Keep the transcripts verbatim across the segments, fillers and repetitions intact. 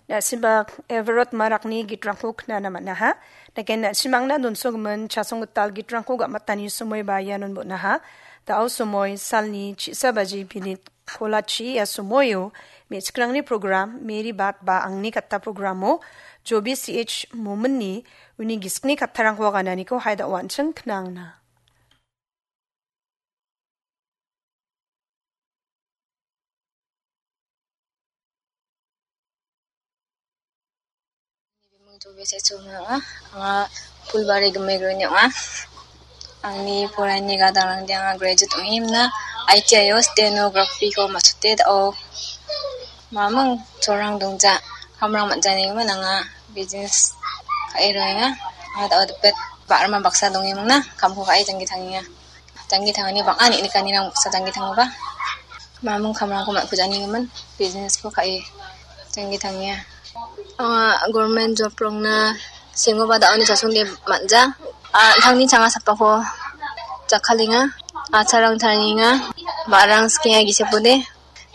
Na·sibak Everett Marakni gitrangko knana man·aha. Naken na·simangna donsogimin chasong gital gitrangko ga·matani somoiba ianon bon·aha. Da·o somoi salni chisa baji pinit kolachi ia somoio me·chikrangni program Mary Bat ba angni katta programo Jobi C H Mominni uni gisikni kattarangko agananiko haida an·ching knangna. Bimung Jobi C H Momin ong·a. Anga Phulbari Gimik Roni ong·a. Angni poraiani gadangrangde anga graduate ong·e himna I T I o stenography-ko matchote da·o. Mamung cholrang dongja, kamrang man·janigimin anga business ka·e roenga. Anga da·o dipet ba·rama baksa dongemingna kamko ka·e janggi tangenga. Janggi tangani bang·a neng·nikanirang baksa janggi tangoba. Mamung kamrangko man·kujanigimin business-ko ka·e janggi tangenga. Anga government job-rangna sengoba da·oni chasongde man·ja. A, tangni changa sapako jakkalenga. Acharang tarienga. Ba·rang skenga gisepode.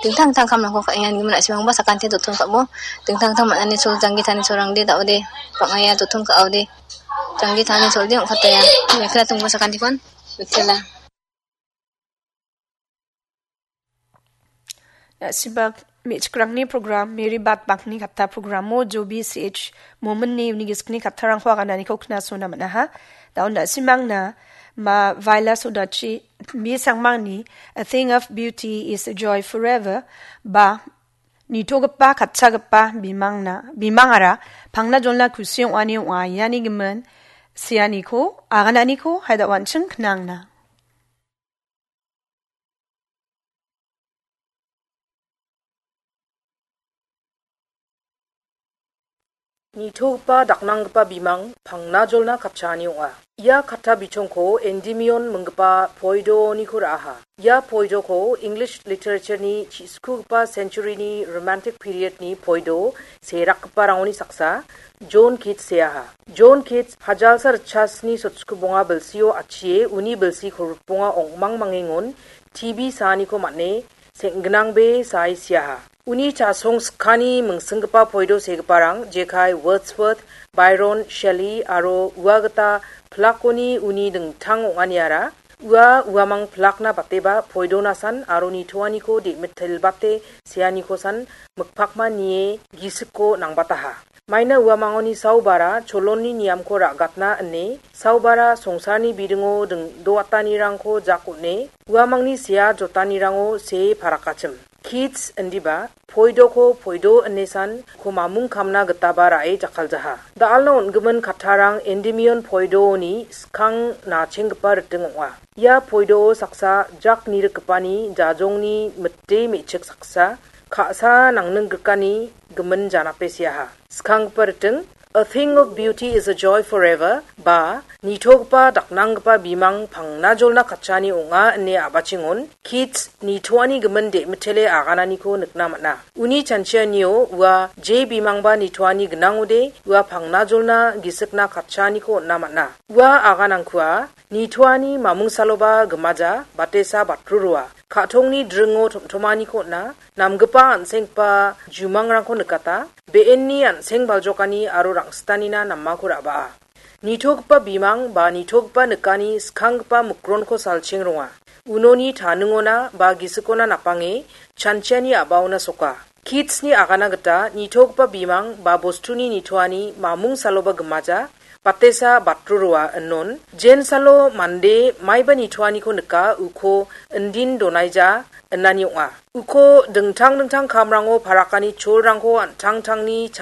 Dingtang dingtang kamrangko ka·enga nigimin na·simangba sakante joton ka·bo. Dingtang dingtang man·ani chol janggi tani cholrangde da·ode. Bang·aia joton ka·ode. Janggi tani cholde ong·kataya. Mekla tongbo sakantikon. Mitela. Na·sibak me·chikrangni program, Mary Bat Bakni katta programo Jobi C H Mominni uni gisikni kattarangko agananiko knasona man·aha. Da·o na·simangna ma Vaila Sodachi, mi sangmangni A Thing of Beauty is a Joy Forever ba nitogipa katchagipa bimangna, bimangara pangna jolna kusi ong·ani ong·a iani gimin seaniko agananiko haida an·ching knangna. Nitogipa daknanggipa bimang pangna jolna katchaani ong·a. Ia katta bichongko Endymion minggipa poidoniko ra·aha. Ia poidoko English literature-ni chi·skugipa century-ni romantic period-ni poido serakgiparangoni saksa John Keats seaha. John Keats hajalsa ritchasni sotskubonga bilsio atchie uni bilsi kolgrikbonga ong·mangmangengon T B saaniko man·e seng·gnangbe sae siaha. Uni chasong skani mingsinggipa poido segiparang jekai Wordsworth, Byron, Shelley aro ua gita pilakoni uni dingtang ong·aniara ua uamang pilakna bateba poidonasan aro nitoaniko de·mitelbate seanikosan mikpakma nie gisiko nangbataha. Maina uamangoni saubara cholonni niamko ra·gatna ine saubara songsarni bidingo ding-, doatanirangko jak on·e uamangni sea jotanirango see parakachim. Keats indiba, poidoko poido inesan ko mamung kamna gitaba ra·e jakkaljaha. Da·alna on·gimin kattarang Endymion poidoni skang nachenggipa riting ong·a. Ia poidoo saksa jak nirikgipani jajongni mite me·chik saksa, ka·sa nangninggrikani gimin janape seaha. Skanggipa riting, A Thing of Beauty is a Joy Forever, ba nitogipa daknanggipa bimang pangna jolna katchani ong·a ine a·bachingon Keats nitoani gimin de·mitele agananiko nikna man·a. Uni chanchianio ua je bimangba nitoani gnangode ua pangna jolna gisikna katchaaniko on·na man·a. Ua aganangkua nitoani mamungsaloba gimaja batesa batrurua. Ka·tongni dringo tom·tomaniko on·a, namgipa an·senggipa jumangrangko nikata, be·enni an·seng baljokani aro rang·sitanina namako ra·baa. Nitogipa bimang ba nitogipa nikani skanggipa mikronko salcheng ronga. Unoni taningona ba gisikona napange chanchiani a·baona soka. Keatsni agana gita nitogipa bimang ba bostuni nitoani mamung saloba gimaja, batesa batrurua inon, jensalo mande maiba nitoaniko nika uko indin donaija inani ong·a. Uko dingtang dingtang kamrango parakani cholrangko an·tangtangni chang-